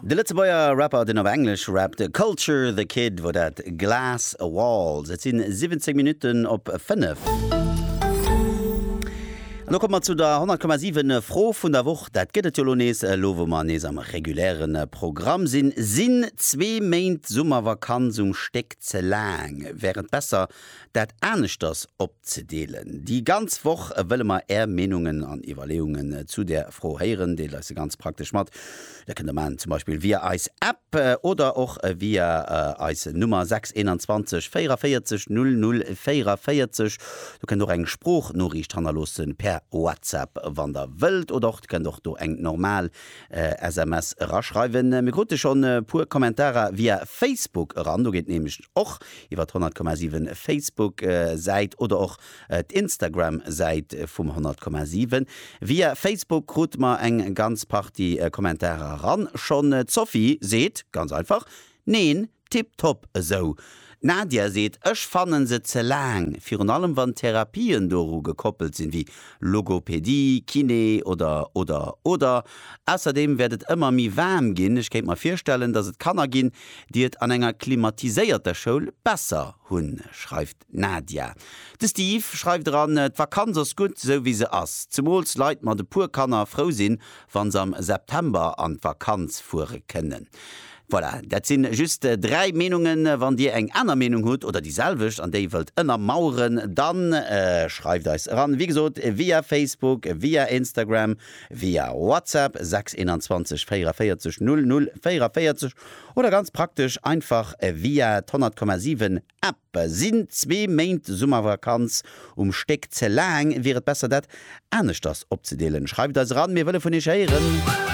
De Lëtzebuerger Rapper, deen op Englesch rappt, Culture the Kid, wor dat Glass Walls. Et sinn 17 Minutten op 5. An lo komme mer zu der 100,7 Fro vun der Woch. Dat gëtt et jo lo nees, elo wou mer nees am reguläre Programm sinn. Sinn zwee Méint Summervakanz um Stéck ze laang? Wär et besser, dat aneschters opzedeelen? Déi ganz Woch wëlle mer Är Meenungen an Iwwerleeungen zu där Fro héieren. Deelt eis se ganz praktesch mat. Dat kënnt der maachen zum Beispill via eis App oder och via eis Nummer 6 21 44 00 44. Do kënnt och eng Sproochnoriicht hannerloossen per WhatsApp wann der wëllt oder och kënnt och do eng normal SMS eraschreiwen. Mir krute schonn e puer Kommentarer via Facebook eran. Do geet nämlech och iwwer d'100,7 Facebook Säit oder och d'Instagram Säit vum 100,7. Via Facebook krute mer eng ganz Partie Kommentarer eran schonn. D'Sophie seet ganz einfach, Neen, tiptop esou. D'Nadia seet, Ech fannen se ze laang, virun allem wann Therapien doru gekoppelt sinn, wéi Logopedie, Kiné oder oder oder. Ausserdeem wäert et ëmmer méi waarm ginn. Ech kéint mer virstellen, dass et Kanner ginn, déi et an enger klimatiséierter Schoul besser hunn, schreift d'Nadia. De Steve schreift eran, D'Vakanz ass gutt, sou wéi se ass. Zemools Leit mat e puer Kanner frou sinn, wann se am September an d'Vakanz fuere kënnen. Voilà, dat sinn just 3 Meenungen. Wann dir eng aner Meenung hutt oder déi selwecht an déi wëllt ënnermaueren, dann schreift eis eran. Wéi gesot, via Facebook, via Instagram, via WhatsApp 6 21 44 00 44 oder ganz praktesch einfach via d'100,7 App. Sinn zwee Méint Summervakanz um Stéck ze laang? Wier et besser dat aneschters opzedeelen? Schreift eis eran, mir wëlle vun iech héieren.